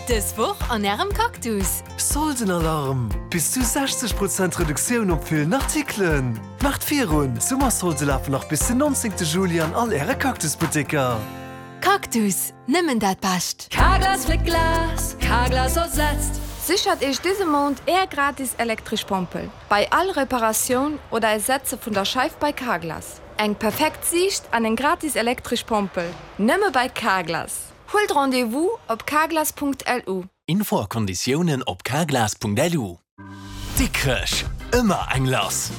Dës Woch an Ärem Cactus! Soldenalarm! Bis zu 60 Prozent Reduktioun op villen Artikelen! Maacht virun! D'Summersolde lafen nach bis den 19 Juli an all Äre Cactus-Butteker! Cactus, nëmmen dat Bescht! Carglass fléckt Glas, Carglass ersetzt. Sichert Iech dëse Mount Är gratis elektresch Pompel bei all Reparatioun oder Ersetze vun der Scheif bei Carglass. Eng perfekt Siicht an eng gratis elektresch Pompel, nëmme bei Carglass! Huelt Rendez-vous op carglass.lu. Info a Konditiounen op carglass.lu. Dikrech, ëmmer eng lass!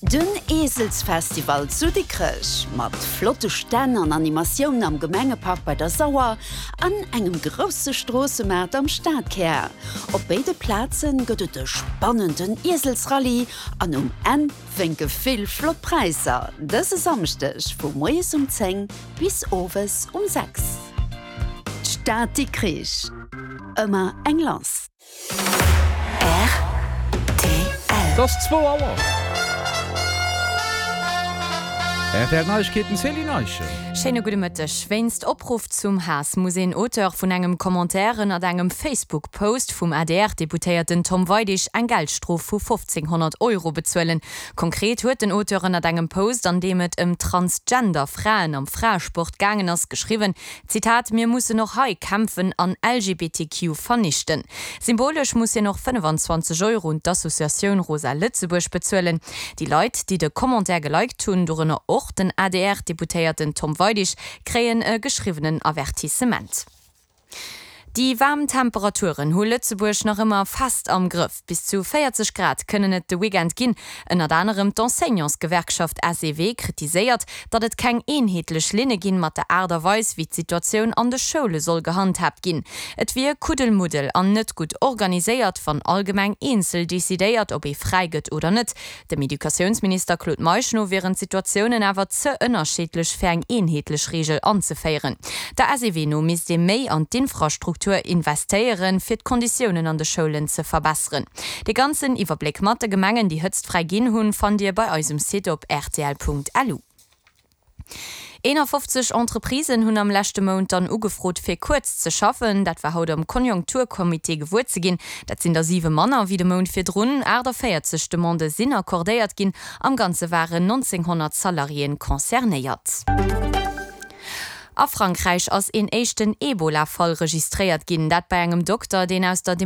Den Eeselsfestival zu Dikrech mat flotte Stänn an Animatioun am Gemengepark bei der Sauer an engem grousse Stroossemaart am Stadkär. Op béide Plaze gëtt et e spannenden Ieselsrallye an um Enn Wénke vill flott Präisser dëse Samschdeg vu moies um 10 bis owes um 6. D'Stad Dikrich, ëmmer eng lass. Rtl. Et ass zwou Auer. Rtl Neiegkeeten, Céline Eischen. Schéine gudde Mëtteg. Wéinst Opruff zum Haass muss een Auteur vun engem Commentaire ënnert engem Facebook-Post vum ADR-Deputéierten Tom Weidig eng Geldstrof vu 1.500 Euro bezuelen. Konkret huet den Auteur ënnert engem Post, an deem et ëm Transgender Fraen am Fraesport gaangen ass, geschriwwen, Zitat, Mir mussen och hei kämpfen an LGBTQ vernichten. Symbolesch muss hien och 25 Euro un d'Associatioun Rosa Lëtzebuerg bezuelen. Déi Leit, déi de Commentaire geliked hunn, dorënner och den ADR-Deputéierten Tom Weidig, kréien e geschriwwenen Avertissement. Déi waarm Temperaturen hu Lëtzebuerg nach ëmmer fest am Grëff. Bis zu 40 Grad kënnen et de Weekend ginn. Ënnert anerem d'Enseignantsgewerkschaft SEW kritiséiert, datt et keng eenheetlech Linne ginn mat der Aart a Weis, wéi d'Situatioun an de Schoule soll gehandhaabt ginn. Et wier Kuddelmuddel an net gutt organiséiert, wann all Gemeng eenzel decidéiert, ob ee fräi gëtt oder net. Dem Educatiounsminister Claude Meisch no wieren d'Situatiounen awer ze ënnerschiddlech fir eng eenheetlech Reegel anzeféieren. Der SEW no misst ee méi an d'Infrastruktur investéieren, fir d'Konditiounen an de Schoulen ze verbesseren. De ganzen Iwwerbléck mat de Gemengen, déi hëtztfräi ginn hunn, fannt Dir bei eis um Site op rtl.lu. 51 Entreprisen hunn am leschte Mount dann ugefrot fir kuerz ze schaffen. Dat war haut am Konjunkturcomité gewuer ze ginn. Dat sinn der 7 manner wéi de Mount virdrun. 48 Demandë sinn accordéiert ginn. Am Ganze waren 1.900 Salariéen concernéiert. A Frankräich ass een éischten Ebola-Fall registréiert ginn. Dat bei engem Dokter, deen aus der.